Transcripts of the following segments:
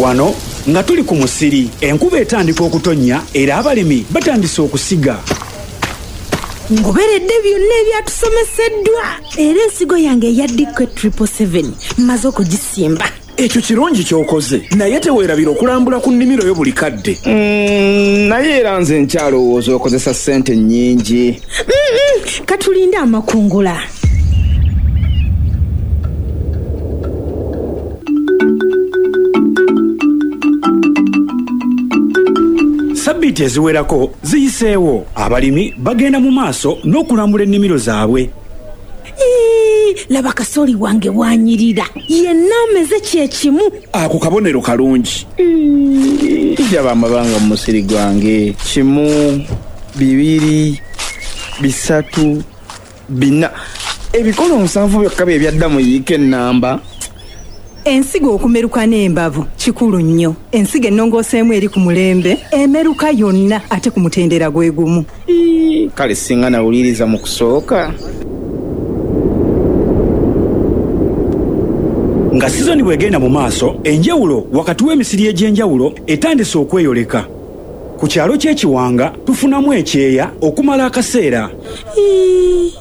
Wano nga tuli ku musiri, enkuba etandika okutonnya era abalimi batandise okusiga. Ngoberedde byonna ebyatusomeseddwa era ensigo yange eya DK 777 mmaze okugisimba. Ekyo kirungi ky'okoze, naye teweerabira okulambula ku nnimiro yo buli kadde. Naye era nze nkyalowooza okozesa ssente nnyingi. Katulinde amakungula. Sabbiiti eziwerako ziyiseewo, abalimi bagenda mu maaso n'okulambula ennimiro zaabwe. Ii, laba kasooli wange bw'anyirira, yenna ameze kye kimu. Ako kabonero kalungi. Ndaba amabanga mu musiri gwange. Kimu, bibiri, bisatu, bina. Ebikolo 7 byokka bye byadda mu yiika ennamba. Ensigo okumeruka n'embavu kikulu nnyo. Ensigo ennongooseemu eri ku mulembe emeruka yonna ate ku mutendera gwe gumu. Ii, Kale singa nawuliriza mu kusooka. Nga sizoni bw'egenda mu maaso, enjawulo wakati w'emisiri egy'enjawulo etandise okweyoleka. Ku kyalo ky'e Kiwanga tufunamu ekyeya okumala akaseera. Ii,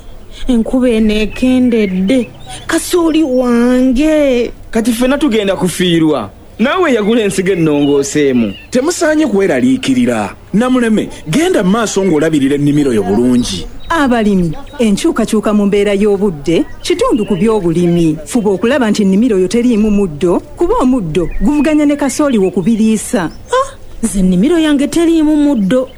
enkuba eno ekendedde, kasooli wange. Kati ffenna tugenda kufiirwa. Naawe eyagula ensigo ennongooseemu. Temusaanye kweraliikirira. Namuleme, genda mu maaso ng'olabirira ennimiro yo bulungi. Abalimi, enkyukakyuka mu mbeera y'obudde kitundu ku by'obulimi. Fuba okulaba nti ennimiro yo teriimu muddo kuba omuddo guvuganya ne kasooli wo ku biriisa. Ah, nze ennimiro yange teriimu muddo.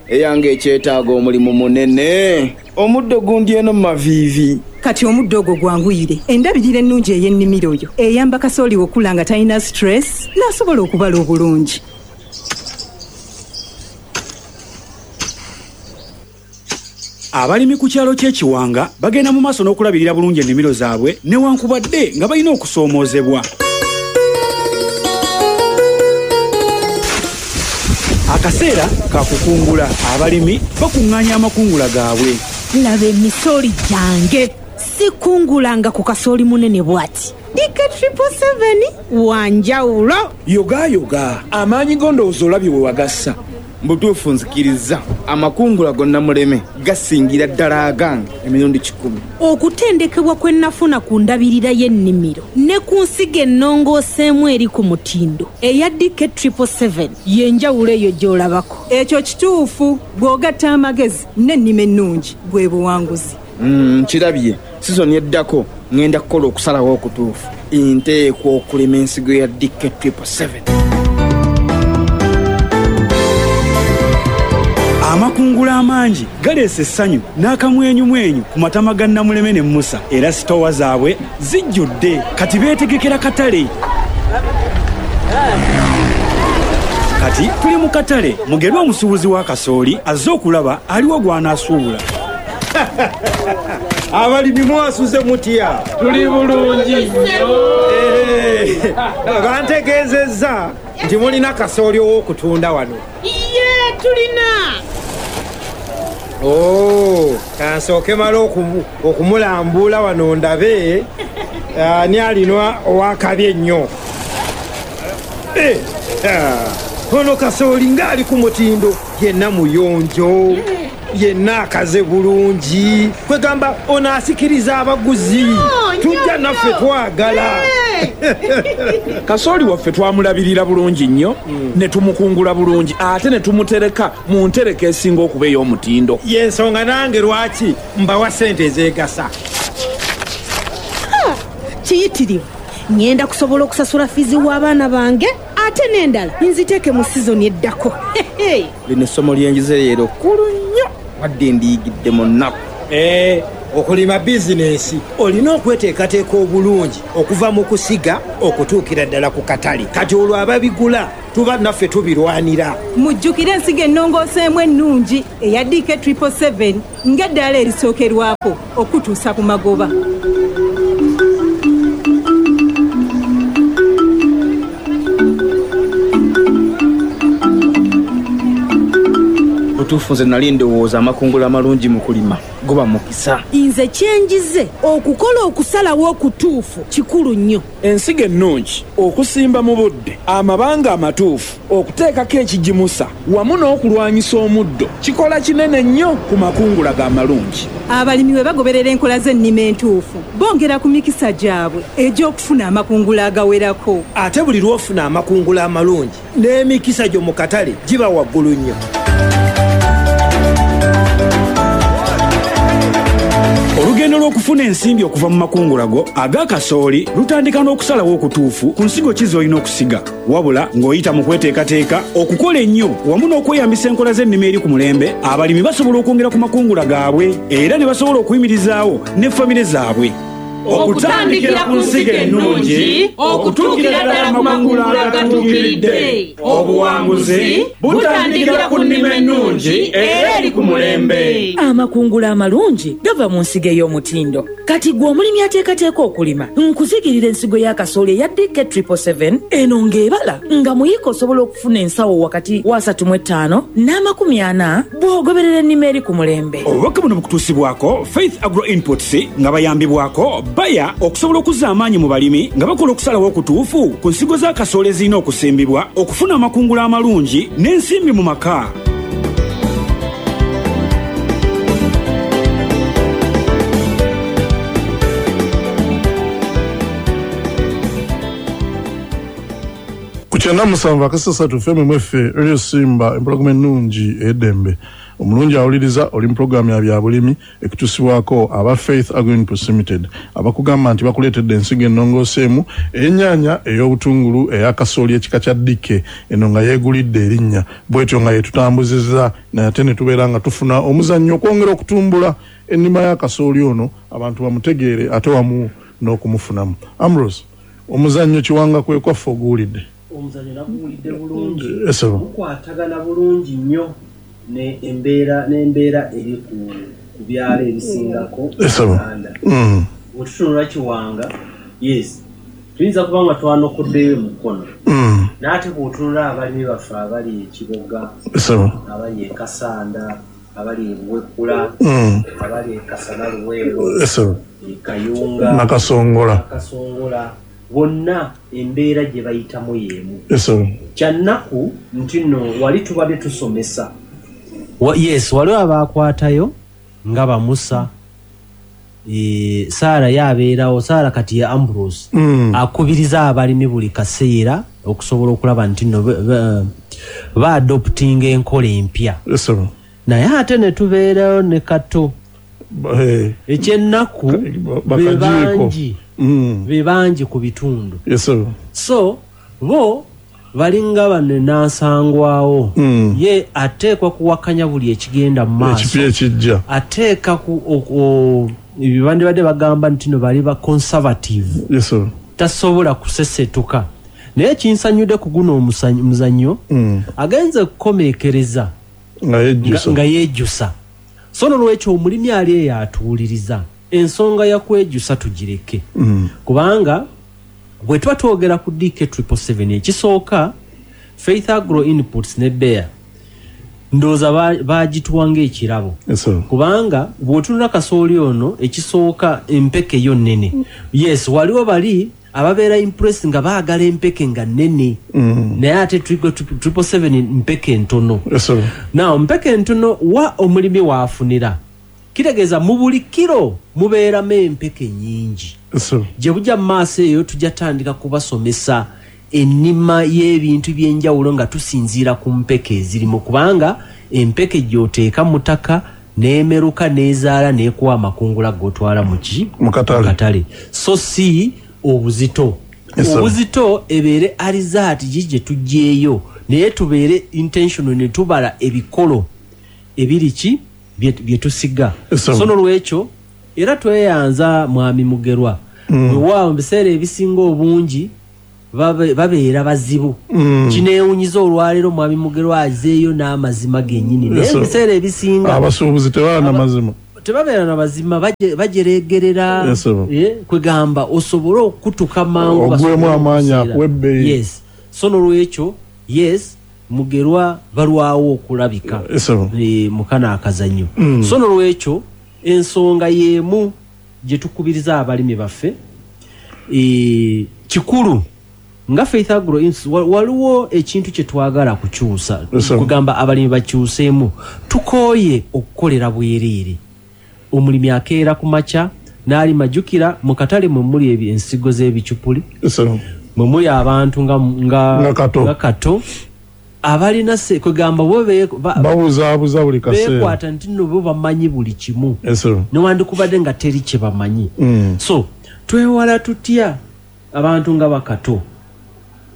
Eyange ekyetaaga omulimu munene. Omuddo gundi eno mu maviivi. Kati omuddo ogwo gwanguyire. Endabirira ennungi ey'ennimiro yo eyamba kasooli wo okukula nga talina stress n'asobola okubala obulungi. Abalimi ku kyalo ky'e Kiwanga bagenda mu maaso n'okulabirira bulungi ennimiro zaabwe newankubadde nga balina okusoomoozebwa. Akaseera ka kukungula, abalimi bakuŋŋaanya amakungula gaabwe. Laba emisooli gyange. Sikungulanga ku kasooli munene bw'ati. DK 777 wa njawulo. Yogaayoga, amaanyi go ndowooza olabye we wagassa. Mu butuufu nzikiriza amakungula go Namuleme gasingira ddala agange emirundi 1,000. Okutendekebwa kwe nafuna ku ndabirira y'ennimiro ne ku nsigo ennongooseemu eri ku mutindo eya DK 777 y'enjawulo eyo gy'olabako. Ekyo kituufu, bw'ogatta amagezi n'ennima ennungi bwe buwanguzi. Nkirabye, sizoni eddako ŋŋenda kukola okusalawo okutuufu. Nteekwa okulima ensigo ya DK 777. Amakungula amangi galeese essanyu n'akamwenyumwenyu ku matama ga Namuleme ne Musa era sitoowa zaabwe zijjudde kati beetegekera katale. Kati tuli mu katale, Mugerwa omusuubuzi wa kasooli azze okulaba aliwa gw'anaasuubula. Abalimi mwasuze mutya? Tuli bulungi nnyo. Bantegeezezza nti mulina kasooli ow'okutunda wano. Iye, tulina. Oh, kansooke male okumulambula wano ndabe ani alina ow'akabi ennyo. Ono kasooli ng'ali ku mutindo, yenna muyonjo, yenna akaze bulungi. Kwegamba ono asikiriza abaguzi. Tujja naffe twagala. Kasooli waffe twamulabirira bulungi nnyo ne tumukungula bulungi ate ne tumutereka mu ntereka esinga okuba ey'omutindo. Y'ensonga nange lwaki mbawa ssente ezeegasa. Kiyitirivu. Ŋŋenda kusobola okusasula fiizi w'abaana bange ate n'endala nziteeke mu sizoni eddako. Lino essomo lye njize leero kkulu nnyo wadde ndiyigidde mu nnaku. Okulima bizinensi olina okweteekateeka obulungi okuva mu kusiga okutuukira ddala ku katale. Kati olwo ababigula tuba naffe tubirwanira. Mujjukire ensigo ennongooseemu ennungi eya DK 777 ng'eddaala erisookerwako okutuusa ku magoba. Bwe butuufu nze nali ndowooza amakungula amalungi mu kulima guba mukisa. Nze kyenjize okukola okusalawo okutuufu kikulu nnyo. Ensigo ennungi, okusimba mu budde, amabanga amatuufu, okuteekako ekigimusa wamu n'okulwanyisa omuddo kikola kinene nnyo ku makungula go amalungi. Abalimi bwe bagoberera enkola z'ennima entuufu, bongera ku mikisa gyabwe egy'okufuna amakungula agawerako. Ate buli lw'ofuna amakungula amalungi, n'emikisa gyo mu katale giba waggulu nnyo. Olugendo lw'okufuna ensimbi okuva mu makungula go aga kasooli lutandika n'okusalawo okutuufu ku nsigo ki z'olina okusiga. Wabula ng'oyita mu kweteekateeka, okukola ennyo wamu n'okweyambisa enkola z'ennima eri ku mulembe, abalimi basobola okwongera ku makungula gaabwe era ne basobola okuyimirizaawo ne famire zaabwe. Okutandikira ku nsigo ennungi okutuukira ddala ku makungula agatuukiridde, obuwanguzi butandikira ku nnima ennungi era eri ku mulembe. Amakungula amalungi gava mu nsigo ey'omutindo. Kati ggwe omulimi ateekateeka okulima, nkuzigirira ensigo ya kasooli eya DK777 eno ng'ebala nga muyiika osobola okufuna ensawo wakati wa 35 n'amakumi ana bw'ogoberera ennima eri ku mulembe. Obubaka buno bukutuusibwako Faith Agro Inputs nga bayambibwako Bayer okusobola okuzza amaanyi mu balimi nga bakola okusalawo okutuufu ku nsigo za kasooli ezirina okusimbibwa okufuna amakungula amalungi n'ensimbi mu maka. Ku 97.3 FM mweffe Radio Simba, empologoma ennungi ey'eddembe. Omulungi awuliriza, oli mu pulogulaamu ya byabulimi ekutuusibwako aba Faith Agro Inputs Limited, abakugamba nti bakuleetedde ensigo ennongooseemu ey'ennyaanya, ey'obutungulu, eya kasooli ekika kya DK eno nga yeegulidde erinnya bwetyo nga yeetutambuzizza, naye ate ne tubeera nga tufuna omuzannyo okwongera okutumbula ennima ya kasooli ono abantu bamutegeere ate wamu n'okumufunamu. Ambrose, omuzannyo Kiwanga kwe kwaffe oguwulidde? Omuzannyo naguwulidde bulungi. Esebo. Gukwatagana bulungi nnyo ne embeera n'embeera eri ku ku byalo ebisingako Esebo. Uganda. Bwe tutunula Kiwanga, yes, tuyinza kuba nga twanokoddeyo Mukono, n'ate bw'otunula abalimi baffe abali e Kiboga, Esebo. abali e Kasanda, abali e Buwekula, abali e Kasana Luweero, Esebo. e Kayunga, Nakasongola. Nakasongola, bonna embeera gye bayitamu y'emu. Esebo. Kyannaku nti nno wali tubadde tusomesa. Yes, waliwo abakwatayo nga bamusa Saara yabeerawo. Saara kati ye Ambrose, akubiriza abalimi buli kaseera okusobola okulaba nti nno baadoptinga enkola empya. Esebo. Naye ate ne tubeerayo ne Kato. Ekyennaku be Bakajiiko. bangi, be bangi ku bitundu. Esebo. So bo balinga bano nansangwawo, ye ateekwa kuwakanya buli ekigenda mu maaso, Ekipya ekijja. Ateeka ku bandibadde bagamba nti no bali ba conservative. Esebo. Tasobola kusesetuka. Naye kinsanyudde ku guno omuzannyo, agenze kukomeekereza nga yejjusa. Nga yeejjusa. So nolwekyo omulimi ali eyo atuwuliriza, ensonga ya kwejjusa tugireke, kubanga bwe tuba twogera ku DK 777, ekisooka Faith Agro Inputs ne Bayer ndowooza bagituwa ng'ekirabo, Esebo. kubanga bw'otunula kasooli ono, ekisooka empeke yo nnene. Yes, waliwo bali ababeera impress nga baagala empeke nga nnene, naye ate 777 mpeke ntono. Esebo. Now mpeke ntono wa omulimi waafunira, kitegeeza mu buli kiro mubeeramu empeke nyingi. Esebo. Gye bujja mu maaso eyo tujja tandika kubasomesa ennima y'ebintu by'enjawulo nga tusinziira ku mpeke ezirimu, kubanga empeke gy'oteeka mu ttaka n'emeruka n'ezaala n'ekuwa amakungula g'otwala mu ki? Mu katale. Katale, so si obuzito. Yes, sir. Obuzito ebeere alizaati gi gye tuggyeeyo, naye tubeere intentional ne tubala ebikolo ebiri ki bye tusiga. Yes, sir. So nolwekyo era tweyanza mwami Mugerwa. Weewaawo mu biseera ebisinga obungi babeera bazibu. Kineewunyiza olwaleero mwami Mugerwa azeeyo n'amazima gennyini, naye Yes, sir. mu biseera ebisinga Abasuubuzi tebaana mazima. Tebabeera na mazima, bajeregerera. Yes, sir. Kwegamba osobole okutuka mangu, Ogwemu basobole amaanyi, okuseera. akuwa ebbeeyi. Yes, so nolwekyo yes. Mugerwa balwawo okulabika mu kano akazannyo. So nolwekyo ensonga y'emu gye tukubiriza abalimi baffe, kikulu nga Faith Agro Institute waliwo ekintu kye twagala kukyusa, kugamba abalimi bakyuseemu. Tukooye okukolera bwereere. Omulimi akeera ku makya n'alima, jjukira mu katale mwe muli ensigo z'ebicupuli, mwe muli abantu nga Kato abalina kugamba bo babuzaabuza buli kaseera, beekwata nti nno bo bamanyi buli kimu, newandikubadde nga teri kye bamanyi. So twewala tutya abantu nga Bakato,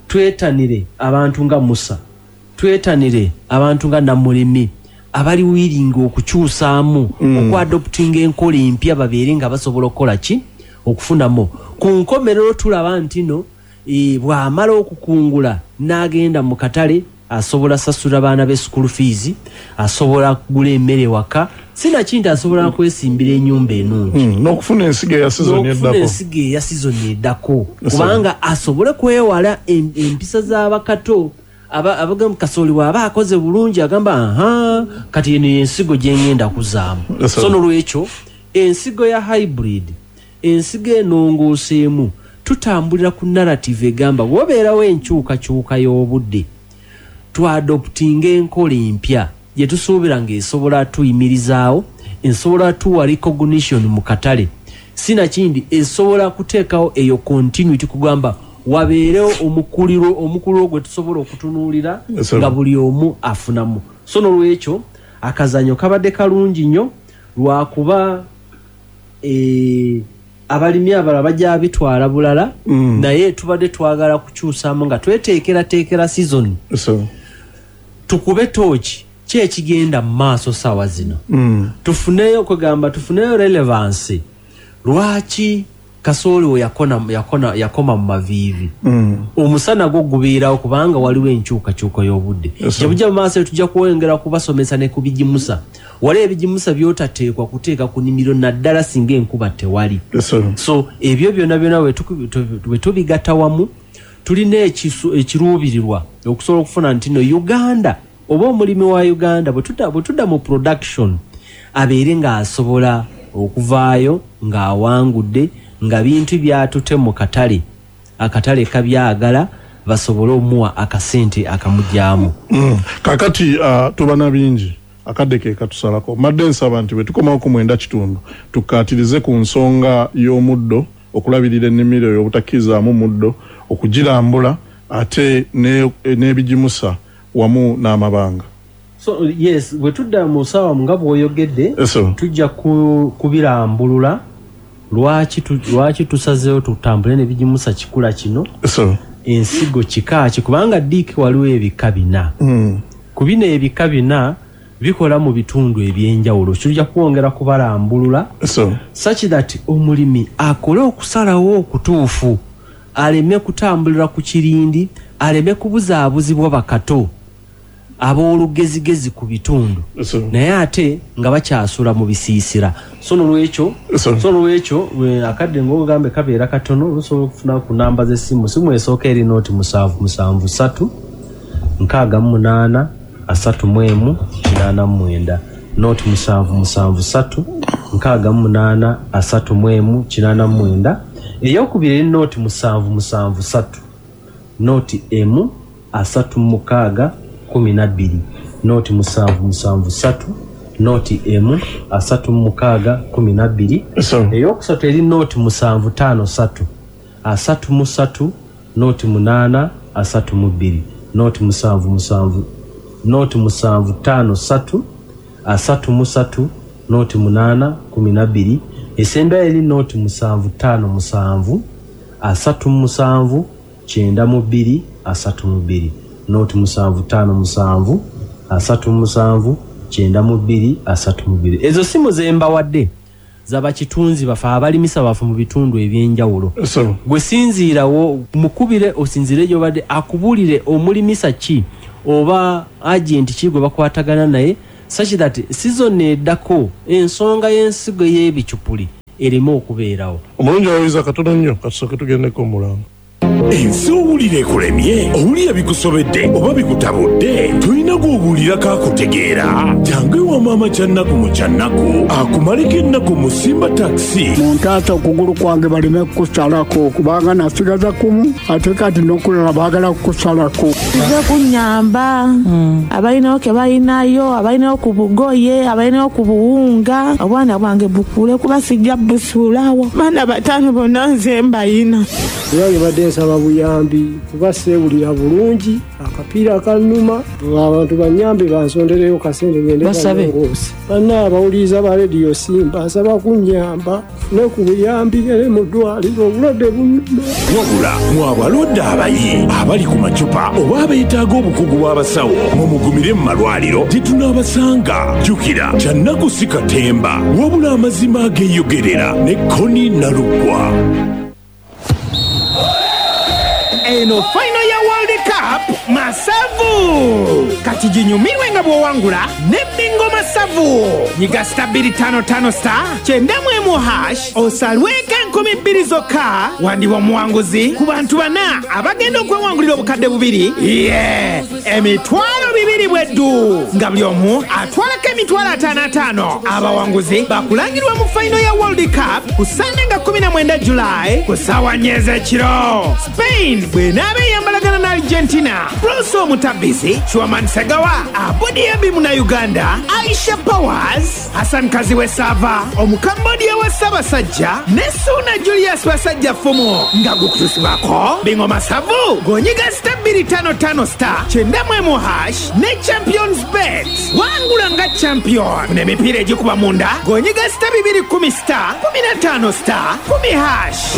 twetanire abantu nga Musa, twetanire abantu nga Namulimi abali wiringa okukyusaamu, okuadoptinga enkola empya, babeere nga basobola okukola ki, okufunamu. Ku nkomerero tulaba nti no bw'amala okukungula n'agenda mu katale, asobola sasula baana be school fees, asobola kugula emmere waka, sinakindi asobola kwesimbira ennyumba ennungi, n'okufuna ensigo eya sizoni eddako, ensigo eya sizoni eddako, kubanga asobole kwewala empisa z'abakato. Abagamba kasooli bw'aba akoze bulungi agamba aha, kati eno ensigo gye ngenda kuzaamu. So nolwekyo ensigo ya hybrid, ensigo enongooseemu, tutambulira ku narrative egamba bw'obeerawo enkyukakyuka y'obudde, twadoptinga enkola empya gye tusuubira ng'esobola tuyimirizaawo, esobola tuwa recognition mu katale, sinakindi esobola kuteekawo eyo continuity, kugamba wabeerewo omukuliro gwe tusobola okutunuulira nga buli omu afunamu. So nolwekyo akazannyo kabadde kalungi nnyo, lwakuba abalimi abalala bajja bitwala bulala, naye tubadde twagala kukyusaamu nga tweteekerateekera season, tukube tooki ki ekigenda mu maaso saawa zino, tufuneyo kugamba tufuneyo relevance. Lwaki kasooli we yakoma mu maviivi? Omusana gwo gubeerawo kubanga waliwo enkyukakyuka y'obudde. Gye bujja mu maaso tujja kwongera kubasomesa ne ku bigimusa. Waliwo ebigimusa by'otateekwa kuteeka ku nnimiro, naddala singa enkuba tewali. So ebyo byonna byonna bwe tubigatta wamu, tulina ekiruubirirwa okusobola okufuna nti no Uganda oba omulimi wa Uganda bwe tudda mu production abeere ng'asobola okuvaayo ng'awangudde, nga bintu byatute mu katale, akatale kabyagala, basobole omuwa akasente akamugyamu. Kakati tuba na bingi, akadde ke katusalako. Madde nsaba nti bwe tukomawo ku 9:15 tukkaatirize ku nsonga y'omuddo, okulabirira ennimiro eyo obutakkirizaamu muddo, okugirambula, ate n'ebigimusa wamu n'amabanga. So yes, bwe tudda mu ssaawa nga bw'oyogedde, tujja kubirambulula lwaki tusazeewo tutambule n'ebigimusa kikula kino, ensigo kika ki, kubanga diiki waliwo ebika bina. Ku bino ebika bina bikola mu bitundu ebyenjawulo, tujja kwongera kubalambulula such that omulimi akole okusalawo okutuufu, aleme kutambulira ku kirindi, aleme kubuzaabuzibwa Bakato ab'olugezigezi ku bitundu, naye ate nga bakyasula mu bisiisira. So nolwekyo akadde ng'ogambe kabeera katono, lusobola okufuna ku namba z'essimu. Simu esooka eri noti 773 68 31 89, noti 773 68 31 89. Eyokubiri eri noti 773 noti emu 36 12, noti 773 noti emu 36 12. Eyokusatu eri noti 753 33 noti 8 32, noti 77 noti 753 33 noti 8 12. Esembayo eri noti 757 37 92 32, noti 757 37 92 32. Ezo simu ze mbawadde z'abakitunzi baffe, abalimisa baffe mu bitundu ebyenjawulo. Gwe sinziirawo mukubire, osinziire gy'obadde, akubuulire omulimisa ki oba agenti ki gwe bakwatagana naye, such that season eddako ensonga y'ensigo y'ebicupuli ereme okubeerawo. Omulungi awuliza katono nnyo, katusooke tugendeko omulango. Ensi owulira ekulemye, owulira bikusobedde oba bikutabudde, tolina gw'obuulirako akutegeera. Jangu ewa maama Kyannaku mu Kyannaku akumaleko ennaku mu Simba Takisi. Muntaasa okugulu kwange baleme kukusalako, kubanga nasigaza kumu, ate kati n'okulala baagala kukusalako. Nze kunyamba abalinawo ke balinayo, abalinawo ku bugoye, abalinawo ku buwunga. Obwana bwange bukule kuba sijja busuulawo. Baana 5 bonna nze mbayina. Era badde nsaba buyambi kuba seewulira bulungi, akapiira kannuma, abantu banyambe bansondereyo kasente ngende balongoose. Banna abawuliriza ba rediyo Simba nsaba kunnyamba ne ku buyambi ngende mu ddwaliro, obulwadde bunnuma. Wabula mwe abalwadde abayi abali ku macupa oba abeetaaga obukugu bw'abasawo, mumugumire mu malwaliro gye tunaabasanga. Jjukira, Kyannaku si katemba, wabula amazima ageeyogerera ne Koni Nalugwa. Eno final ya World Cup masavu. Kati jinyumirwe nga bw'owangula ne bingo masavu. Nyiga star 255 star 91 hash osalweko 2000 zokka wandiba omuwanguzi ku bantu 4 abagenda okwewangulira obukadde 2. Yeah, 20,000 bweddu nga buli omu atwalako 5,500. Abawanguzi bakulangirwa mu final ya World Cup ku Sunday nga 19 July ku ssaawa 4 ez'ekiro. Spain bw'enaaba eyambalagana na Argentina, Bruce Omutabisi, Chuaman Segawa, Abudi Ebi Munnayuganda, Aisha Powers, Hassan Kaziwe Sava, Omukambodia wa Ssaabasajja ne Suna Julius Basajja Fumu. Nga gukutusibwako bingo masavu gonyiga star 255 star 91 hash ne Champions Bet. Wangula nga champion. Funa emipiira egikuba munda gonyiga star 210 star 15 star 10 hash.